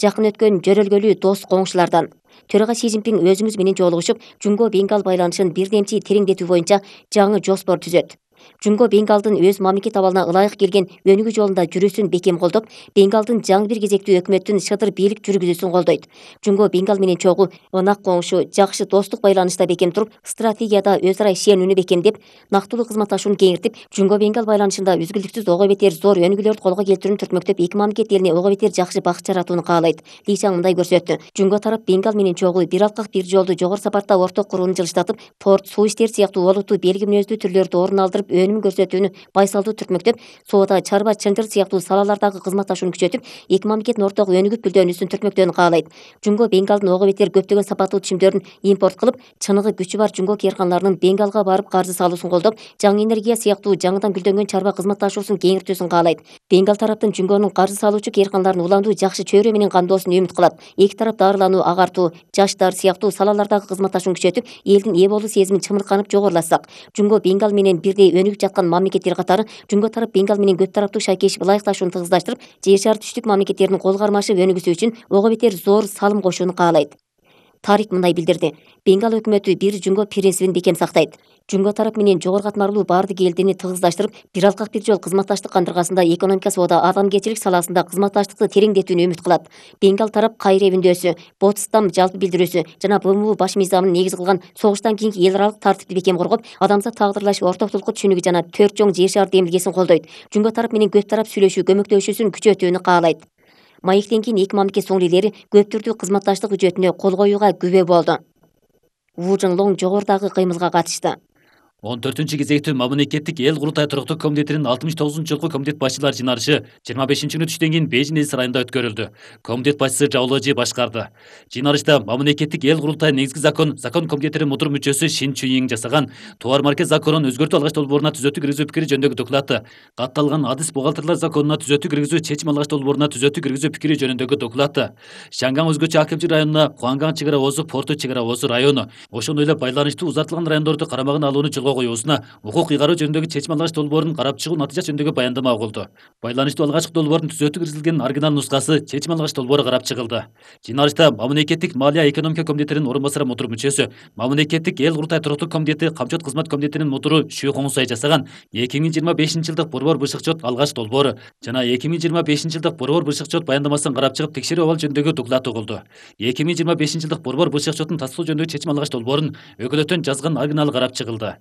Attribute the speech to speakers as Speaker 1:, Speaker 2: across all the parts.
Speaker 1: жакын өткөн жөрөлгөлүү дос коңшулардан. Төрага Си Цзиньпин өзүңүз менен жолугушуп, Жунго Бенгал байланышын бирдемчи тереңдетүү боюнча жаңы жоспор түзөт. Жунго Бенгалдын өз мамлекет абалына ылайык келген өнүгүү жолунда жүрүүсүн бекем колдоп, Бенгалдын жаңы бир кезектүү өкмөттүн шыдыр бийлик жүргүзүүсүн колдойт. Жунго Бенгал менен чогуу ынак коңшу, жакшы достук байланышта бекем туруп, стратегияда өз ара ишенүүнү бекемдеп, нактылуу кызматташууну кеңиртип, Жунго Бенгал байланышында үзгүлтүксүз ого бетер зор өнүгүүлөрдү колго келтирүүнү түртмөктөп, эки мамлекет элине ого бетер жакшы бакыт жаратууну каалайт. Ли Чаң мындай көрсөттү. Жунго тарап Бенгал менен чогуу бир алкак бир жолду жогору сапатта орток курууну жылыштатып, порт, суу иштери сыяктуу олуттуу белги мүнөздүү түрлөрдү орун алдырып, өнүм көрсөтүүнү байсалдуу түртмөктөп, соода, чарба, чынжыр сыяктуу салалардагы кызматташууну күчөтүп, эки мамлекеттин орток өнүгүп гүлдөнүүсүн түртмөктөөнү каалайт. Жунго Бенгалдын ого бетер көптөгөн сапаттуу чимдөрүн импорт кылып, чыныгы күчү бар Жунго кээрканаларынын Бенгалга барып каржы салуусун колдоп, жаңы энергия сыяктуу жаңыдан гүлдөнгөн чарба кызматташуусун кеңиртүүсүн каалайт. Бенгал тараптын Жунгонун каржы салуучу кээрканаларын уландуу, жакшы чөйрө менен камдоосун үмүт кылат. Эки тарап дарылануу, агартуу, жаштар сыяктуу салалардагы кызматташууну күчөтүп, элдин ээ болуу сезимин чымырканып жогорулатсак, Жунго Бенгал менен бирдей өнүгүп жаткан мамлекеттер катары Жунго тарап Бенгал менен көп тараптуу шайкешип ылайыкташууну тыгыздаштырып, Жер шары түштүк мамлекеттеринин кол кармашып өнүгүүсү үчүн ого бетер зор салым кошууну каалайт. Тарик мындай билдирди. Бенгал өкмөтү бир Жунго принцибин бекем сактайт. Жунго тарап менен жогору катмарлуу баардык элдини тыгыздаштырып, бир алкак бир жол кызматташтык кандыргасында экономика, соода, адамгерчилик саласында кызматташтыкты тереңдетүүнү үмүт кылат. Бенгал тарап Кайре өбүндөөсү, Ботстам жалпы билдирүүсү жана БМУ баш мыйзамын негиз кылган согуштан кийинки эл аралык тартипти бекем коргоп, адамзат тагдырлаш ортоктулукку түшүнүгү жана төрт чоң жер шары демилгесин колдойт. Жунго тарап менен көп тарап сүйлөшүү, көмөктөшүүсүн күчөтүүнү каалайт. Маектен кийин эки мамлекет соңку элдери көп түрдүү кызматташтык үчөтүнө кол коюуга күбө болду. Ву Жыңлоң жогорудагы кыймылга катышты.
Speaker 2: 14-кезектүү мамлекеттик эл курултай туруктуу комитетинин 69-жылкы комитет башчылар жыйналышы 25-күнү түштөн кийин Бейжиң сарайында өткөрүлдү. Комитет башчысы Жаоложи башкарды. Жыйналышта мамлекеттик эл курултай негизги закон комитетинин мудур мүчөсү Шин Чуйиң жасаган товар марка законун өзгөртүү алгачтуу долбооруна түзөтүү киргизүү пикири жөнүндөгү доклады, катталган адис бухгалтерлер законуна түзөтүү киргизүү чечим алгачтуу долбооруна түзөтүү киргизүү пикири жөнүндөгү доклады, Шанган өзгөчө акимчилик районуна Хуанган чек ара озу порту чек ара озу району, ошондой эле байланыштуу узартылган райондорду карамагына алууну жолго коюусуна укук ыйгаруу жөнүндөгү чечим алгачтуу долбоорун карап чыгуу натыйжасы жөнүндөгү баяндама угулду. Байланыштуу алгачкы долбоордун түзөтүү киргизилген оригинал нускасы чечим алгачтуу долбоору карап чыгылды. Жыйналышта мамлекеттик малия экономика комитетинин орун басары мудур мүчөсү, мамлекеттик эл курултай туруктуу комитети камчот кызмат комитетинин мудуру Шү Хоңсай жасаган 2025-жылдык борбор бышыкчот алгач долбоору жана 2025-жылдык борбор бышыкчот баяндамасын карап чыгып текшерүү абал жөнүндөгү доклад угулду. 2025-жылдык борбор бышыкчотун тастыктоо жөнүндөгү чечим алгач долбоорун өкүлөттөн жазган оригиналы карап чыгылды.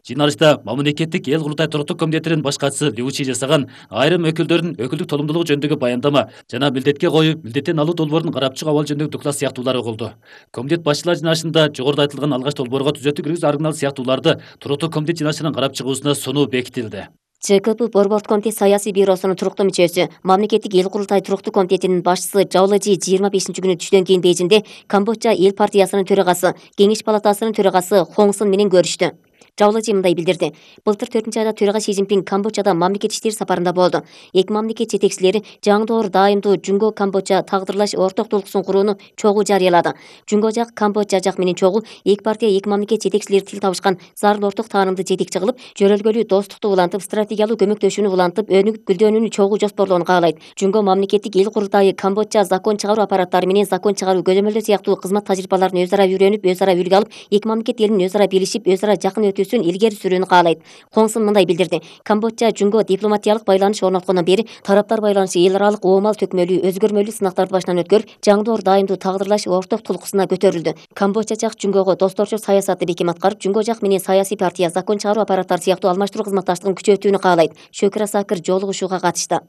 Speaker 2: Жыйналышта мамлекеттик эл курултай туруктуу комитетинин баш катчысы Лю Чи жасаган айрым өкүлдөрдүн өкүлдүк толумдуулугу жөнүндөгү баяндама жана милдетке коюу, милдеттен алуу долбоорун карап чыгуу абал жөнүндөгү доклад сыяктуулар угулду. Комитет башчылар жыйналышында жогоруда айтылган алгач долбоорго түзөтүү киргизүү оригинал сыяктууларды туруктуу комитет жыйналышынын карап чыгуусуна сонуу бекитилди.
Speaker 1: ЧКП Борбордук комитет саясий бюросунун туруктуу мүчөсү, мамлекеттик эл курултай туруктуу комитетинин башчысы Жаоложи 25-күнү түштөн кийин Бейжиңде Камбоджа эл партиясынын төрагасы, Кеңеш палатасынын төрагасы Хонг Сын менен көрүштү. Жаоложи мындай билдирди. Былтыр 4-айда төрага Си Цзиньпин Камбоджада мамлекет иштери сапарында болду. Эки мамлекет жетекчилери жаңдоор даимдуу Жунго Камбоджа тагдырлаш орток долкусун курууну чогуу жарыялады. Жунго жак Камбоджа жак менен чогуу эки партия эки мамлекет жетекчилери тил табышкан зарыл орток таанымды жетекчи кылып, жөрөлгөлүү достукту улантып, стратегиялуу көмөктөшүүнү улантып, өнүгүп гүлдөнүүнү чогуу жоспорлоону каалайт. Жунго мамлекеттик эл курултайы Камбоджа закон чыгаруу аппараттары менен закон чыгаруу көзөмөлдөө сыяктуу кызмат тажрыйбаларын өз ара үйрөнүп, өз ара үлгү алып, эки мамлекет элинин өз ара билишип, өз ара жакын илгери сүрүүнү каалайт. Хонг Сын мындай билдирди. Камбоджа Жунго дипломатиялык байланыш орноткондон бери тараптар байланышы эл аралык оомал төкмөлүү, өзгөрмөлүү сынактарды башынан өткөрүп, жаңдоор даимдуу тагдырлаш орток тулкусуна көтөрүлдү. Камбоджа жак Жунгого досторчу саясатты бекем аткарып, Жунго жак менен саясий партия, закон чыгаруу аппараттары сыяктуу алмаштыруу кызматташтыгын күчөтүүнү каалайт. Шөкүр Асакыр жолугушууга катышты.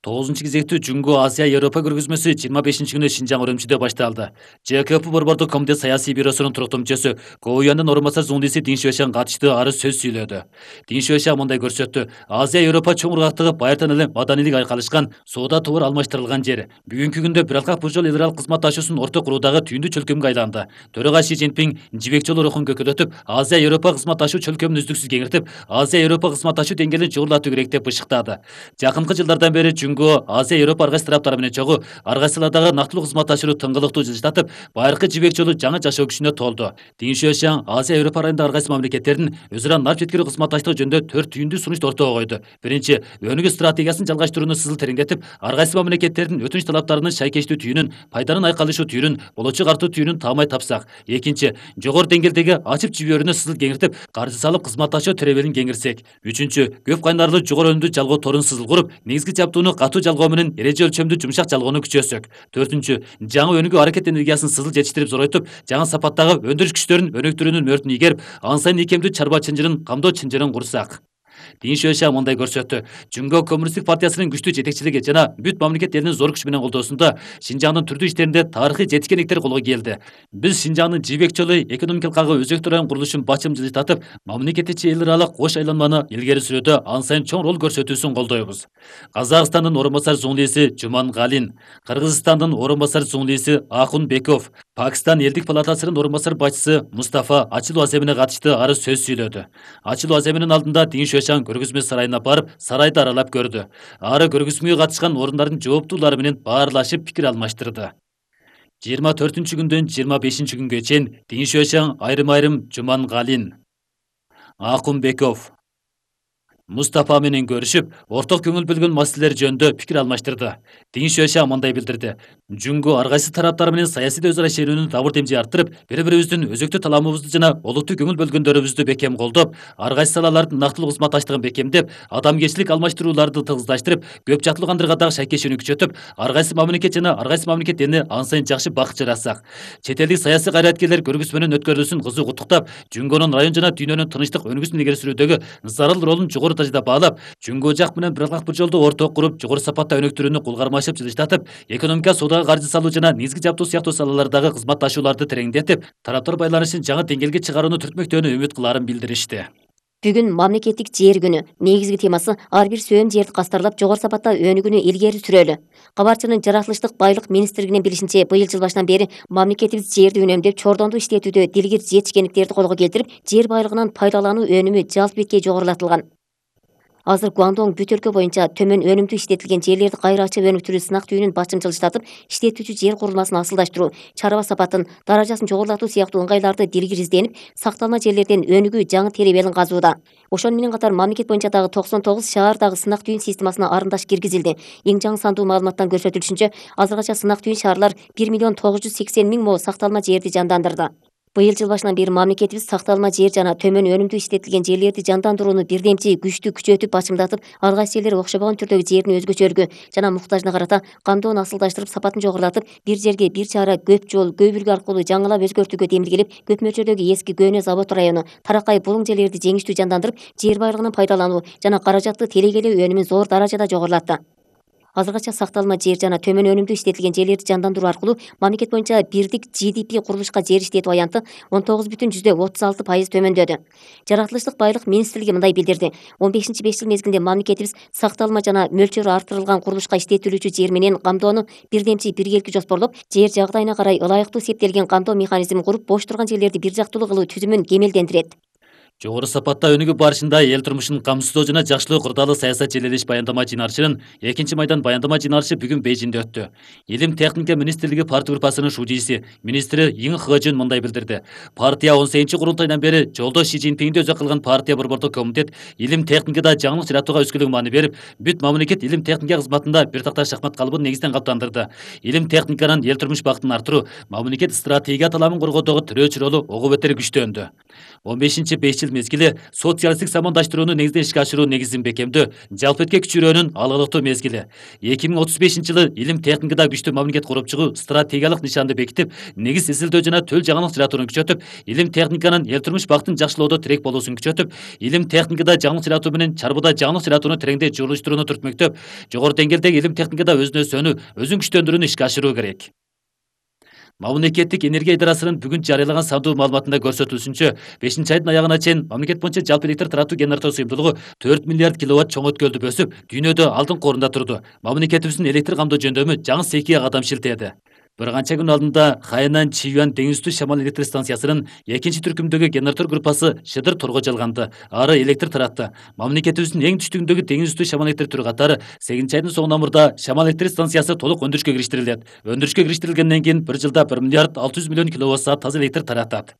Speaker 2: 9-кезектүү Жунго Азия Европа көргөзмөсү 25-күнү Шинжаң Урумчиде башталды. ЧКП Борбордук комитет саясий бюросунун туруктуу мүчөсү Го Уяндын орун басары Зуңдиси Дин Шуэшан катышты, ары сөз сүйлөдү. Дин Шуэшан мындай көрсөттү. Азия Европа чоң ургактыгы байыртан эле маданилик айкалышкан, соода товар алмаштырылган жер. Бүгүнкү күндө бир алкак бир жол эл аралык кызматташуусун орток куруудагы түйүндү чөлкөмгө айланды. Төрага Си Цзиньпин жибек жолу рухун көкөлөтүп, Азия Европа кызматташуу чөлкөмүн үздүксүз кеңиртип, Азия Европа кызматташуу деңгээлин жогорулатуу керек деп бышыктады. Жакынкы жылдардан бери Жүнгө, Азия, Европа ар кайсы тараптары менен чогуу ар кайсылардагы нактылуу кызматташуу тыңгылыктуу жылыштатып, байыркы жибек жолу жаңы жашоо күчүнө толду. Дин Шуэшан Азия, Европа районунда ар кайсы мамлекеттердин өз ара нарп жеткирүү кызматташтыгы жөнүндө 4 түйүндүү сунушту ортого койду. Биринчи, өнүгүү стратегиясын жалгаштырууну сызыл тереңдетип, ар кайсы мамлекеттердин өтүнүч талаптарынын шайкештүү түйүнүн, пайданын айкалышуу түйүнүн, болочок артуу түйүнүн таамай тапсак. Экинчи, жогору деңгээлдеги ачып жиберүүнү сызыл кеңиртип, каржы салып кызматташуу теребелин кеңиртсек. Үчүнчү, көп кайнарлуу жогору өнүмдүү жалгоо торун сызыл куруп, негизги жаптууну катуу жалгоо менен эреже өлчөмдүү жумшак жалгоону күчөсөк. Төртүнчү, жаңы өнүгүү аракет энергиясын сызыл жетиштирип зоройтуп, жаңы сапаттагы өндүрүш күчтөрүн өнүктүрүүнүн мөөртүн ийгерип, ан сайын ийкемдүү чарба чынжырын, камдоо чынжырын курсак. Дин Шуэшан мындай көрсөттү. Жүнгө Коммунисттик партиясынын күчтүү жетекчилиги жана бүт мамлекет элинин зор күч менен колдоосунда Шинжаңдын түрдүү иштеринде тарыхый жетишкендиктер колго келди. Биз Шинжаңдын жибек жолу экономикалык өзөктүү район курулушун бачым жылыштатып, мамлекеттичи эл аралык кош айланманы илгери сүрүүдө ан сайын чоң роль көрсөтүүсүн колдойбуз. Казакстандын орун басар зуңлиси Жумангалин, Кыргызстандын орун басар зуңлиси Акунбеков, Пакистан элдик палатасынын орун басар башчысы Мустафа ачылуу аземине катышты ары сөз сүйлөдү. Ачылуу аземинин алдында Дин Шуэшан көргөзмө сарайына барып, сарайды аралап көрдү. Ары көргөзмөгө катышкан орундардын жооптуулары менен баарлашып пикир алмаштырды. 24-күндөн 25-күнгө чейин Дин Шуэшан айрым-айрым Жумангалин, Акунбеков, Мустафа менен көрүшүп, орток көңүл бөлгөн маселелер жөнүндө пикир алмаштырды. Дин Шуэшан мындай билдирди. Жүнгө ар кайсы тараптар менен саясий өз ара шерүүнүн табыр демжи арттырып, бири-бирибиздин өзөктүү таламыбызды жана олуттуу көңүл бөлгөндөрүбүздү бекем колдоп, ар кайсы салалардын нактылуу кызматташтыгын бекемдеп, адамгерчилик алмаштырууларды тыгыздаштырып, көп жактылуу кандыргадагы шайкешүүнү күчөтүп, ар кайсы мамлекет жана ар кайсы мамлекет элине ан сайын жакшы бакыт жаратсак. Чет элдик саясий кайраткерлер көргөзмөнүн өткөрүлүүсүн кызуу куттуктап, Жүнгөнүн район жана дүйнөнүн тынчтык өнүгүүсүн илгери сүрүүдөгү зарыл ролун жогору даражада баалап, Жүнгө жак менен бир жолдо орток куруп, жогору сапатта өнүктүрүүнү кулгармашып жылыштатып, экономика, соодага каржы салуу жана негизги жаптуу сыяктуу салалардагы кызматташууларды тереңдетип, тараптар байланышын жаңы деңгээлге чыгарууну түртмөктөөнү үмүт кылаарын билдиришти.
Speaker 1: Бүгүн мамлекеттик жер күнү. Негизги темасы ар бир сөөм жерди кастарлап жогору сапатта өнүгүүнү илгери сүрөлү. Кабарчынын жаратылыштык байлык министрлигинин билишинче, быйыл жыл башынан бери мамлекетибиз жерди үнөмдөп, чордондуу иштетүүдө дилгир жетишкендиктерди колго келтирип, жер байлыгынан пайдалануу өнүмү жалпы беткей жогорулатылган. Азыр Гуандонг бүт өлкө боюнча төмөн өнүмдүү иштетилген жерлерди кайра ачып өнүктүрүү сынак түйүнүн бачым жылыштатып, иштетүүчү жер курулмасын асылдаштыруу, чарба сапатын, даражасын жогорулатуу сыяктуу ыңгайларды дилгир изденип, сакталма жерлерден өнүгүү жаңы теребелин казууда. Ошону менен катар мамлекет боюнча дагы 99 шаардагы сынак түйүн системасына арымдаш киргизилди. Эң жаңы сандуу маалыматтан көрсөтүлүшүнчө, азыркыча сынак түйүн шаарлар 1.980.000 мо сакталма жерди жандандырды. Быйыл жыл башынан бери мамлекетибиз сакталма жер жана төмөн өнүмдүү иштетилген жерлерди жандандырууну бирдемчи күчтүү күчөтүп бачымдатып, ар кайсы жерлер окшобогон түрдөгү жердин өзгөчөлүгү жана муктажына карата камдоону асылдаштырып, сапатын жогорулатып, бир жерге бир чара көп жол, көп үлгү аркылуу жаңылап өзгөртүүгө демилгелеп, көп мөлчөрдөгү эски Көнө завод району, Таракай булуң жерлерди жеңиштүү жандандырып, жер байлыгынын пайдалануу жана каражатты телегелөө өнүмүн зор даражада жогорулатты. Азыркыча сакталма жер жана төмөн өнүмдүү иштетилген жерлерди жандандыруу аркылуу мамлекет боюнча бирдик ЖДП курулушка жер иштетүү аянты 19,36% төмөндөдү. Жаратылыштык байлык министрлиги мындай билдирди. 15-5 жыл мезгилинде мамлекетибиз сакталма жана мөлчөрү артырылган курулушка иштетилүүчү жер менен камдоону бирдемчи биргелки жоспорлоп, жер жагдайына карай ылайыктуу септелген камдоо механизмин куруп, бош турган жерлерди бир жактуулуу кылуу түзүмүн кемелдендирет.
Speaker 2: Жогору сапатта өнүгүү барышында эл турмушун камсыздоо жана жакшылоо кырдаалуу саясат желелеш баяндама жыйнарышынын 2-майдан баяндама жыйнарышы бүгүн Бейжиңде өттү. Илим техника министрлиги партия группасынын шужийси, министри Иң Хэжүн мындай билдирди. Партия 18-курултайдан бери жолдош Си Цзиньпинди өзөк кылган партия борбордук комитет илим техникада жаңылык жаратууга өскөлөң маани берип, бүт мамлекет илим техника кызматында бир такта шахмат калыбын негизден каптандырды. Илим техниканын эл турмуш бактын арттыруу, мамлекет стратегия таламын коргоодогу тирөөчү ролу ого бетер күчтөндү. 15-5 жыл мезгили социалисттик самандаштырууну негизден ишке ашыруу негизин бекемдөө, жалпы этке күчүрөөнүн алгылыктуу мезгили. 2035-жылы илим техникада күчтүү мамлекет куруп чыгуу стратегиялык нишанды бекитип, негиз изилдөө жана төл жаңылык жаратууну күчөтүп, илим техниканын эл турмуш бактын жакшылоодо тирек болуусун күчөтүп, илим техникада жаңылык жаратуу менен чарбыда жаңылык жаратууну тереңдей журулуштурууну түртмөктөп, жогору деңгээлдеги илим техникада өзүн өсүүнү, өзүн күчтөндүрүүнү ишке ашыруу керек. Мамлекеттик энергия идарасынын бүгүн жарыялаган сандуу маалыматында көрсөтүлүшүнчө, 5-айдын аягына чейин мамлекет боюнча жалпы электр таратуу генератор сыйымдуулугу 4 миллиард киловатт чоң өткөлдү өсүп, дүйнөдө алдыңкы орунда турду. Мамлекетибиздин электр камдоо жөндөмү жаңы секиге кадам шилтеди. Bir канча күн алдында Хайнан Чиюан деңиз үстү шамал электр станциясынын экинчи түркүмдөгү генератор группасы Шыдыр торго жалганды. Ары электр таратты. Мамлекетибиздин эң түштүгүндөгү деңиз үстү шамал электр түрү катары 8 айдын соңуна мурда шамал электр станциясы толук өндүрүшкө кириштирилет. Өндүрүшкө кириштирилгенден кийин 1 жылда 1 миллиард 600 миллион киловатт саат таза электр таратат.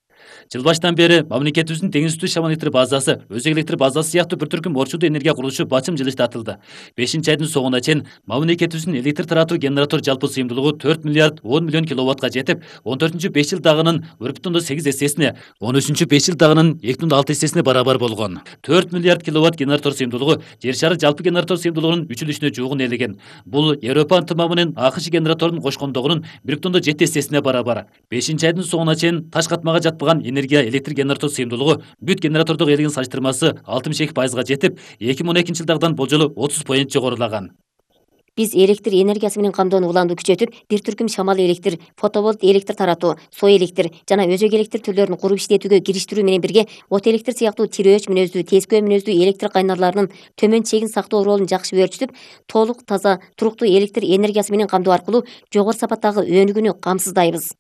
Speaker 2: Жыл башынан бери мамлекетибиздин деңиз үстү шамал электр базасы, өзек электр базасы сыяктуу бір түркүм орчулдуу энергия курулушу бачым жылыштатылды. 5 айдын соңуна чейин мамлекетибиздин электр таратуу генератор жалпы сыйымдуулугу 4 миллиард 10 миллион киловаттка жетип, 14-5 жылдагынын 1,8 эсесине, 13-5 жылдагынын 2,6 эсесине барабар болгон. 4 миллиард киловатт генератор сыйымдуулугу жер шары жалпы генератор сыйымдуулугунун 3/4-үнө жуугун элеген. Бул Европа ынтымагы менен АКШ генераторун кошкондогунун 1,7 эсесине барабар. 5 айдын соңуна чейин таш катмага жатпаган энергия электр генератор сыйымдуулугу бүт генератордук элегин салыштырмасы 62%га жетип, 2012 жылдагыдан болжолу 30% жогорулаган.
Speaker 1: Биз электр энергиясы менен камдоону уланды күчөтүп, бир түркүм шамал электр, фотоволт электр таратуу, соо электр жана өзөк электр түрлөрүн куруп иштетүүгө кириштирүү менен бирге от электр сыяктуу тирөөч мүнөздүү, тескөө мүнөздүү электр кайнарларынын төмөн чегин сактоо ролун жакшы өөрчүтүп, толук таза, туруктуу электр энергиясы менен камдоо аркылуу жогору сапаттагы өнүгүүнү камсыздайбыз.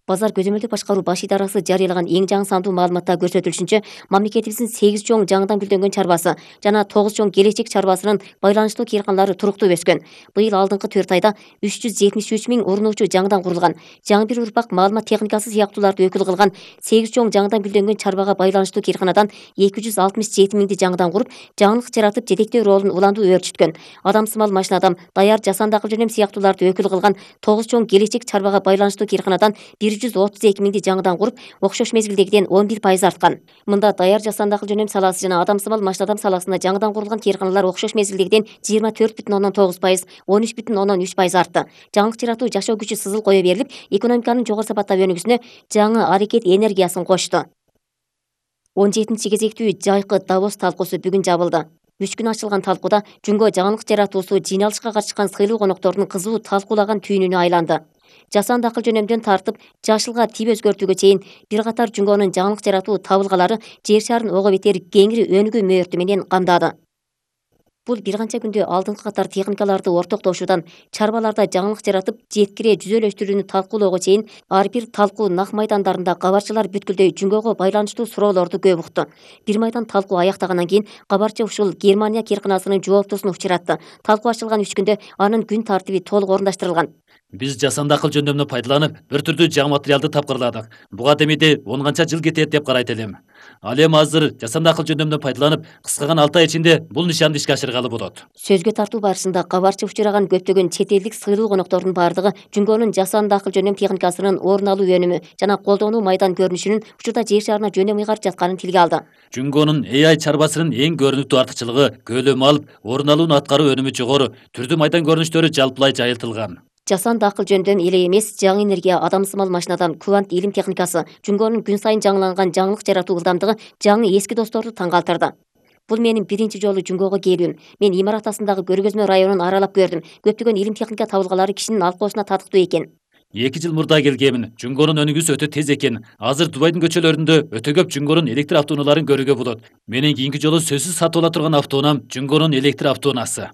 Speaker 1: Базар көзөмөлдүк башкаруу баш идарасы жарыялаган эң жаңы сандуу маалыматта көрсөтүлүшүнчө, мамлекетибиздин 8 чоң жаңыдан гүлдөнгөн чарбасы жана 9 чоң келечек чарбасынын байланыштуу кыйрканалары туруктуу өскөн. Быйыл алдыңкы 4 айда 373 миң урунуучу жаңыдан курулган. Жаңы бир урпак маалымат техникасы сыяктууларды өкүл кылган 8 чоң жаңыдан гүлдөнгөн чарбага байланыштуу кыйрканадан 267 миңди жаңыдан куруп, жаңылык жаратып жетектөө ролун уланду өөрчүткөн. Адамсымал машинадан, даяр жасанды акыл жөнөм сыяктууларды өкүл кылган 9 чоң келечек чарбага байланыштуу кыйрканадан 132 миңди жаңыдан куруп, окшош мезгилдегиден 11% арткан. Мында даяр жасанды акыл жөнөм саласы жана адамсымал машинадам саласына жаңыдан курулган кыйрканалар окшош мезгилдегиден 24,9%, 13,3% артты. Жаңылык жаратуу жашоо күчү сызыл кое берилип, экономиканын жогору сапаттап өнүгүүсүнө жаңы аракет энергиясын кошту. 17 кезектүү жайкы Давос талкуусу бүгүн жабылды. 3 күн ачылган талкууда Жүнгө жаңылык жаратуусу жыйналышка катышкан сыйлуу коноктордун кызуу талкуулаган түйүнүнө айланды. Жасанды акыл жөнөмдөн тартып, жашылга тип өзгөртүүгө чейин бир катар Жүнгөнүн жаңылык жаратуу табылгалары жер шарын ого бетер кеңири өнүгүү мөөртү менен камдады. Бул бир канча күндө алдыңкы катар техникаларды ортоктошуудан чарбаларда жаңылык жаратып, жеткире жүзөлөштүрүүнү талкуулоого чейин ар бир талкуу нак майдандарында кабарчылар бүткүлдөй Жүнгөгө байланыштуу суроолорду көп укту. Бир майдан талкуу аяктагандан кийин кабарчы ушул Германия кыйрканасынын жооптусун учуратты. Талкуу ачылган 3 күндө анын күн тартиби толук орундаштырылган.
Speaker 2: Биз жасанды акыл жөндөмүнө пайдаланып, бир түрдүү жаңы материалды тапкырладык. Буга демейде 10 канча жыл кетет деп карайт элем. Ал эми азыр жасанды акыл жөндөмүнө пайдаланып, кыска гана 6 ай ичинде бул нишанды ишке ашыргалы болот.
Speaker 1: Сөзгө тартуу барышында кабарчы учураган көптөгөн чет элдик сыйлуу коноктордун бардыгы Жүнгөнүн жасанды акыл жөнөм техникасынын орун алуу өнүмү жана колдонуу майдан көрүнүшүнүн учурда жер шарына жөнөм ыйгарып жатканын тилге алды.
Speaker 2: Жүнгөнүн AI чарбасынын эң көрүнүктүү артыкчылыгы көлөмү алып, орун алууну аткаруу өнүмү жогору, түрдүү майдан көрүнүштөрү жалпылай жайылтылган.
Speaker 1: Жасанды акыл жөндөм эле эмес, жаңы энергия, адамсымал машинадан квант илим техникасы, Жүнгөнүн күн сайын жаңыланган жаңылык жаратуу ылдамдыгы жаңы эски досторду таң калтырды. Бул менин биринчи жолу Жүнгөгө келүүм. Мен Имарат астындагы Көргөзмө районун аралап көрдүм. Көптөгөн илим техника табылгалары кишинин алкоосуна татыктуу экен.
Speaker 2: 2 жыл мурда келгемин. Жүнгөнүн өнүгүүсү өтө тез экен. Азыр Дубайдын көчөлөрүндө өтө көп Жүнгөнүн электр автоунааларын көрүүгө болот. Менин кийинки жолу сөзсүз сатып ала турган автоунам Жүнгөнүн электр автоунаасы.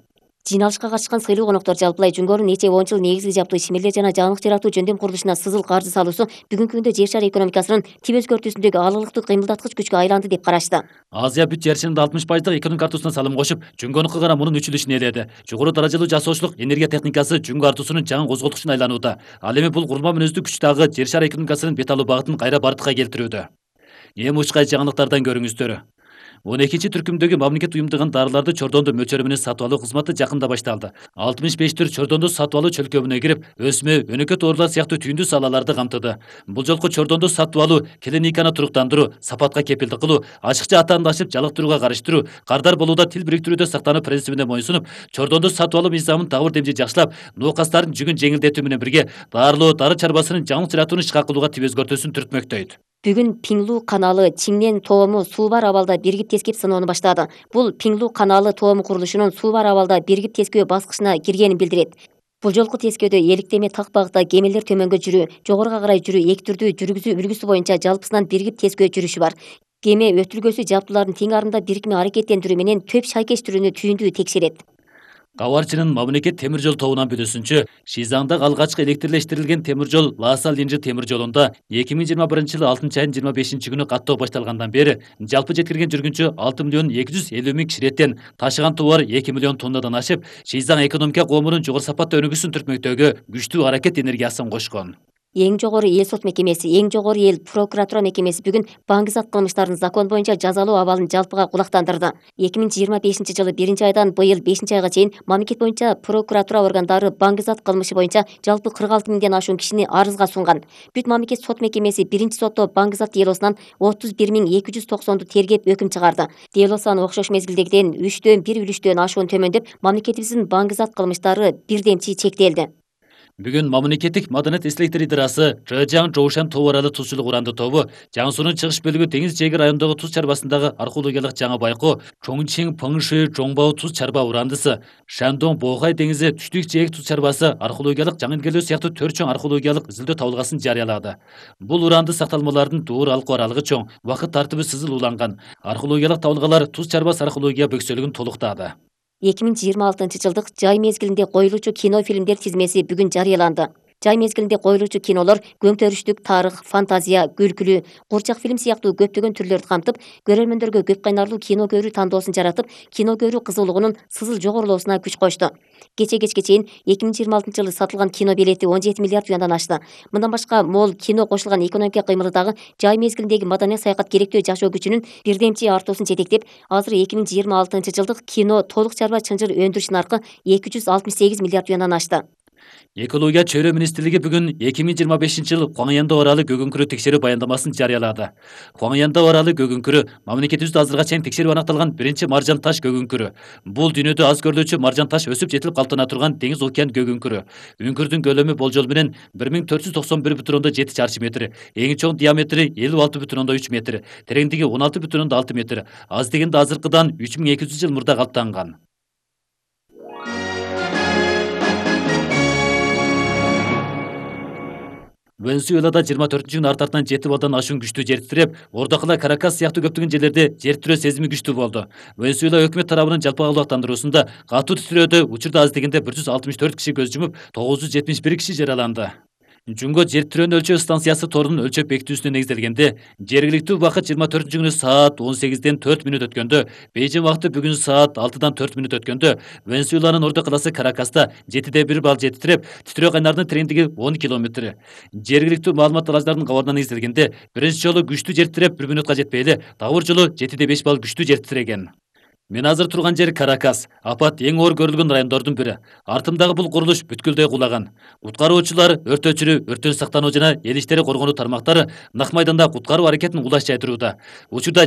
Speaker 1: Жыйналышка катышкан сыйлуу коноктор жалпылай Жүнгөнүн нече 10 жыл негизги жаптуу ишмерлер жана жаңылык жаратуу жөндөм курулушуна сызыл каржы салуусу бүгүнкү күндө жер шары экономикасынын тип өзгөртүүсүндөгү алырлыктуу кыймылдаткыч күчкө айланды деп карашты.
Speaker 2: Азия бүт жер шарында 60% экономик артуусуна салым кошуп, Жүнгөнү кылгана мунун 3/4-үн ээледи. Жогору даражалуу жасоочулук энергия техникасы Жүнгө артуусунун жаңы козголткучуна айланууда. Ал эми бул курулма мүнөздүү күч дагы жер шары экономикасынын бет алуу багытын кайра бардыкка келтирүүдө. Эми учкай жаңылыктардан көрүңүздөр. 12 түркүмдөгү мамлекет уюмдаган дарыларды чордондо мөлчөрү менен сатып алуу кызматы жакында башталды. 65 түр чордондо сатып алуу чөлкөмүнө кирип, өсмө, өнөкөт оорулар сыяктуу түйүндүү салаларды камтыды. Бул жолку чордондо сатып алуу, клиниканы туруктандыруу, сапатка кепилдик кылуу, ачыкча атаандашып жалыктырууга карыштыруу, кардар болууда тил бириктирүүдө сактануу принцибине моюнсунуп, чордондо сатып алуу мыйзамын дагы бир демчи жакшылап, ноокастардын жүгүн жеңилдетүү менен бирге дарылоо, дары чарбасынын жаңылык жаратууну ишке кылууга тип өзгөртүүсүн түртмөктөйт.
Speaker 1: Бүгүн Пиңлу каналы Чиңнен тоому суу бар абалда биригип тескеп сыноону баштады. Бул Пиңлу каналы тоому курулушунун суу бар абалда биригип тескөө баскычына киргенин билдирет. Бул жолку тескөөдө эликтеме так багытта кемелер төмөнгө жүрүү, жогоруга карай жүрүү эки түрдүү жүргүзүү үлгүсү боюнча жалпысынан биригип тескөө жүрүшү бар. Кеме өтүлгөсү жаптуулардын тең арында бирикме аракеттендирүү менен төп шайкеш түрүнү түйүндүү текшерет.
Speaker 2: Кабарчынын мамлекет темир жол тобунан билүүсүнчө, Шизаңда алгачкы электрлештирилген темир жол Лааса-Линжи темир жолунда 2021 жылы 6 айдын 25 күнү каттоо башталгандан бери жалпы жеткирген жүргүнчү 6,250,000 кишилеттен ташыган товар 2 миллион тоннадан ашып, Шизаң экономика коомунун жогору сапаттуу өнүгүүсүн түртмөктөгө күчтүү аракет энергиясын кошкон.
Speaker 1: Эң жогору эл сот мекемеси, эң жогору эл прокуратура мекемеси бүгүн баңгизат кылмыштарын закон боюнча жазалоо абалын жалпыга кулактандырды. 2025 жылы 1 айдан быйыл 5 айга чейин мамлекет боюнча прокуратура органдары баңгизат кылмышы боюнча жалпы 46 миңден ашуун кишини арызга сунган. Бүт мамлекет сот мекемеси биринчи сотто баңгизат делосунан 31,290 тергеп өкүм чыгарды. Дело саны окшош мезгилдегиден 3,1 ашуун төмөндөп, мамлекетибиздин баңгизат кылмыштары бирдемчи чектелди.
Speaker 2: Бүгүн мамлекеттик маданият эстеликтер идырасы Чжэжяң Жоушан тоо аралуу тузчулук уранды тобу Жаңсуунун чыгыш бөлүгү Теңиз Жээги районундагы туз чарбасындагы археологиялык жаңы байкоо Чоңчиң Пыңшы Жоңбао туз чарба урандысы, Шандон Боохай деңизи Түштүк Жээг туз чарбасы археологиялык жаңы илгерлөө сыяктуу 4 чоң археологиялык изилдөө табылгасын жарыялады. Бул уранды сакталмалардын дуур алкуу аралыгы чоң, убакыт тартыбы сызыл уланган. Археологиялык табылгалар туз чарбас археология бөксөлүгүн толуктады.
Speaker 1: 2026 жылдык жай мезгилинде коюлуучу кино фильмдер тизмеси бүгүн жарыяланды. Жай мезгилинде коюлуучу кинолор көңтөрүштүк, тарых, фантазия, күлкүлүү, курчак фильм сыяктуу көптөгөн түрлөрдү камтып, көрөрмөндөргө көп кайнарлуу кино көрүү тандоосун жаратып, кино көрүү кызуулугунун сызыл жогорулоосуна күч кошту. Кече-кечке чейин 2026 жылы сатылган кино билети 17 миллиард юандан ашты. Мындан башка мол кино кошулган экономика кыймылы дагы жай мезгилиндеги маданий саякат керектөө жашоо күчүнүн бирдемчи артуусун жетектеп, азыр 2026 жылдык кино толук чарба чынжыр өндүрүш наркы 268 миллиард юандан ашты.
Speaker 2: Экология чөйрө министрлиги бүгүн 2025 жыл Хуаңянда аралы көгүнкүрү текшерүү баяндамасын жарыялады. Хуаңянда аралы көгүнкүрү мамлекетибизде азырга чейин текшерип аныкталган биринчи маржан таш көгүнкүрү. Бул дүйнөдө аз көрүлүүчү маржан таш өсүп жетилип калыптана турган деңиз океан көгүнкүрү. Үңкүрдүн көлөмү болжол менен 1491,7 чарчы метр, эң чоң диаметри 56,3 метр, тереңдиги 16,6 метр, аз дегенде азыркыдан 3200 жыл мурда калыптанган. Венесуэлада 24-күн арт-артынан 7 балдан ашуун күчтүү жер титиреп, Ордокула, Каракас сыяктуу көптөгөн жерлерде жер титирөө сезими күчтүү болду. Венесуэла өкмөт тарабынын жалпы абалактандыруусунда катуу титирөөдө учурда аз дегенде 164 киши көз жумуп, 971 киши жараланды. Жунго жер титирөөнү өлчөө станциясы торунун өлчөп бекитүүсүнө негизделгенде, жергиликтүү убакыт 24-күнү саат 18-ден 4 мүнөт өткөндө, Бейжин убакыты бүгүн саат 6-дан 4 мүнөт өткөндө, Венесуэланын ордо каласы Каракаста 7,1 балл жер титиреп, титирөө кайнарынын тереңдиги 10 километр. Жергиликтүү маалымат алаждардын кабарына негизделгенде, биринчи жолу күчтүү жер титиреп 1 мүнөткө жетпей эле, дагы бир жолу 7,5 балл күчтүү жер титиреген. Мен азыр турган жер Каракас, апат эң оор көрүлгөн райондордун бири. Артымдагы бул курулуш бүткүлдөй кулаган. Куткаруучулар, өрт өчүрүү, өрттөн сактануу жана эл иштери коргонуу тармактары нак майданда куткаруу аракетин улаш жайдырууда. Учурда